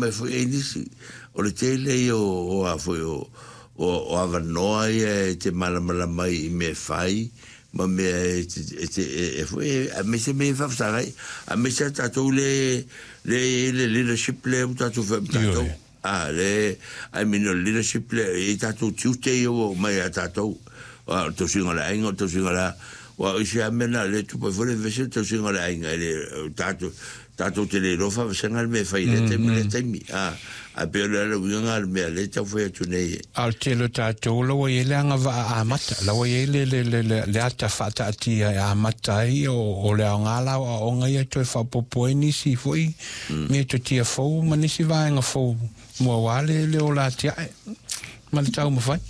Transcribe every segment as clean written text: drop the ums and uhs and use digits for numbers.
mai foi e nisi. O le tele ia o a foi o o avanoa ia e te malamalama ai i mea e fai ma mea e te e foi aemaise mea e faafesaga ai, aemaise a tatou le le i ai le leadership lea ua tatou fai ma tatou. A le I mean o le leadership lea e i ai tatou tiute ia ua oo mai ia tatou. O le tausiga o le aiga, o le tausiga o le a, aua o isi lava mea na o lea e tupu ai foi le vevesi o le tausiga o le aiga e le o tatou tatou te le iloa faavasega le mea e fai i lea taimi ma lea taimi, a, ae pei o le ala uiga lena o le mea lea e tau fai atu nei e. A o le tele o tatou la ua i ai le agavaa amata, la ua i ai le, le, le, le, le ata faataatia e amata ai, o, o le aoga la o aoaoga ia e toe faaopoopo ai nisi foi metotia fou ma nisi vaega fou mo aua le, le ola atiae ma le taumafai.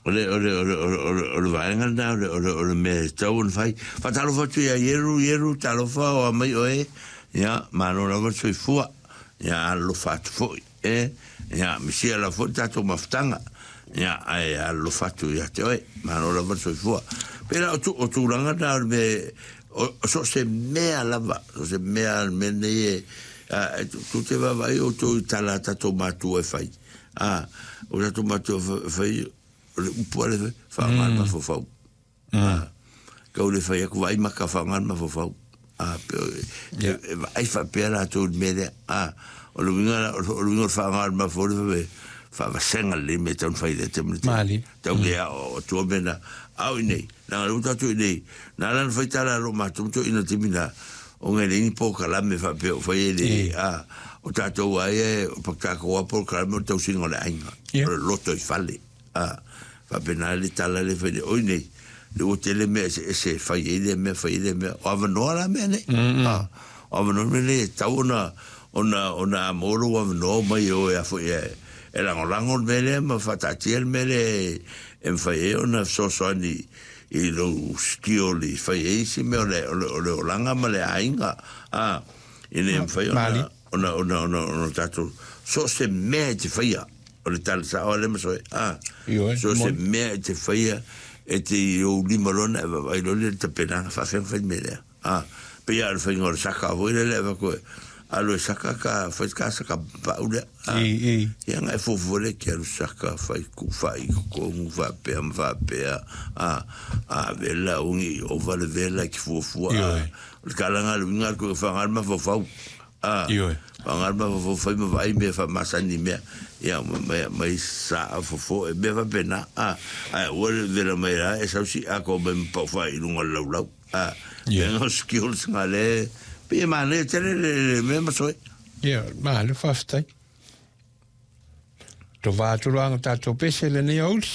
O le, o le, o le, o le, o le, o le vaega lena o le, o le, o le mea e tatau ona fai. Faatalofa atu ia Ieru, Ieru, talofa o amai oe. Ia, malo lava le soifua. Ia, alolofa atu foi. E, ia, misia lava foi le tatou mafutaga. Ia, ae alolofa atu ia te oe. Malo lava le soifua. Pei la o, tu, o tulaga na o le mea, o, o so o se mea lava, so o se mea, le mea nei e, a, e tu te vaavaai outou i tala a tatou matua e fai. A, o tatou matua e fai, o le upu a le fai, faaaoga le mafaufau. A, kau le fai atu vaai maka faaaoga le mafaufau. A, pe, e, e vaai faapea latou i le mea lea. A, o le uiga, o le uiga o le faaaoga le mafaufau le fai, faavasega lelei mea e tatau ona fai i lea taimi le taimi. Malie. Tau le ao atua mea na, ao i nei, leaga lea ua tatou i nei, na ala ona fai tala a lo matou ma toeaiina i le taimi na, ona e leai ni polokalame faapea o fai e le, a, o tatou lava ia, o tatou lava polokalame o le tausiga o le aiga, o le loto i fale, a, faapena le tala lea e fai nei, oi nei, lea ua tele mea eseese e fai ai lea mea, fai ai lea mea, o avanoa la mea nei, a, o avanoa mea nei e tatau ona, ona, ona a maua lou avanoa omai e o e a foi e, e lagolago le mea lea ma faataatia le mea lea e mafai ai ona fesoasoani i lou skill i fai ai isi mea o le, o le, o le olaga ma le aiga, a, ina ia mafai ona, ona, ona, ona, ona tatou, so o se mea e te faia, o le tala sao a lea Masoe, a, so o se mea e te faia, e te i ou lima loa ona e vaavaai loa lea i le tapenaga, faafefea ona fai le mea lea. A, pei lava o le faiga o le saka foi lele e avatu e alu e saka ka fai ka saka pau lea. A, I, i. Ia na e fuafua lea ke alu saka fai ku fai totonu faapea ma faapea. A, a vela ungi ova le vela ki fuafua. A, Ioe. o le tala le uiga le koe whaanga le mafaufau. A, Ioe. whaanga le mafaufau fai ma vaai mea whaamasani mea. Ia, mai, mai sa a fofo e mea faapena. A, ae ua le vela mai la e sau si a ko mai ma pau whaai i lunga o le laulau. A, Yeah. mea skills nga le, pei e manaia tele le, le mea Masoe. Ia, malo faafetai. To va atu loa tatou pese lenei aoauli.